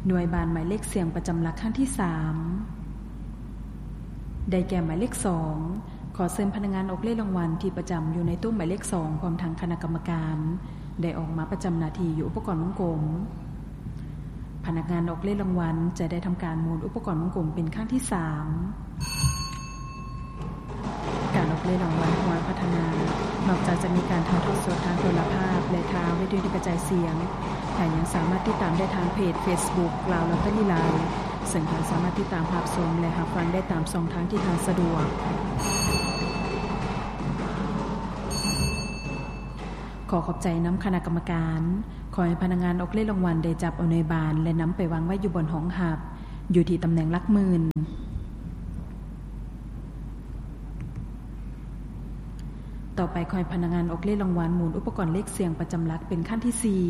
ໜ່ວຍບານໝາຍເລກສ່ຽງປະຈຳຫຼັກຄັ້ງທີສາມ ໄດ້ແກ່ໝາຍເລກສອງ. ຂໍເຊີນພະນັກງານອອກເລກລາງວັນທີ່ປະຈຳຢູ່ໃນໂຕະໝາຍເລກສອງ ພ້ອມທັງຄະນະກຳມະການ ໄດ້ອອກມາປະຈຳໜ້າທີ່ຢູ່ອຸປະກອນວົງກົມ. ພະນັກງານອອກເລກລາງວັນຈະໄດ້ທຳການໝູນອຸປະກອນວົງກົມເປັນຄັ້ງທີສາມ. ການອອກເລກລາງວັນຮາງວັນພັດທະນາ ນອກຈາກຈະມີການຖ່າຍທອດສົດທາງໂທລະພາບ ແລະ ທາງວິທະຍຸກະຈາຍສຽງ, ແຖມຍັງສາມາດຕິດຕາມໄດ້ທາງເພຈເຟສບຸກ ລາວລອດເຕີຣີລາຍ ເຊິ່ງທ່ານສາມາດຕິດຕາມຮັບຊົມ ແລະ ຮັບຟັງໄດ້ຕາມຊ່ອງທາງທີ່ທ່ານສະດວກ. ຂໍຂອບໃຈນຳຄະນະກຳມະການ. ຂໍໃຫ້ພະນັກງານອອກເລກລາງວັນໄດ້ຈັບເອົາໜ່ວຍບານ ແລະ ນຳໄປວາງໄວ້ຢູ່ບ່ອນຮອງຮັບ ຢູ່ທີ່ຕຳແໜ່ງຫຼັກໝື່ນ. ຕໍ່ໄປ ຂໍໃຫ້ພະນັກງານອອກເລກລາງວັນໝູນອຸປະກອນເລກສ່ຽງປະຈຳຫຼັກເປັນຄັ້ງທີສີ່.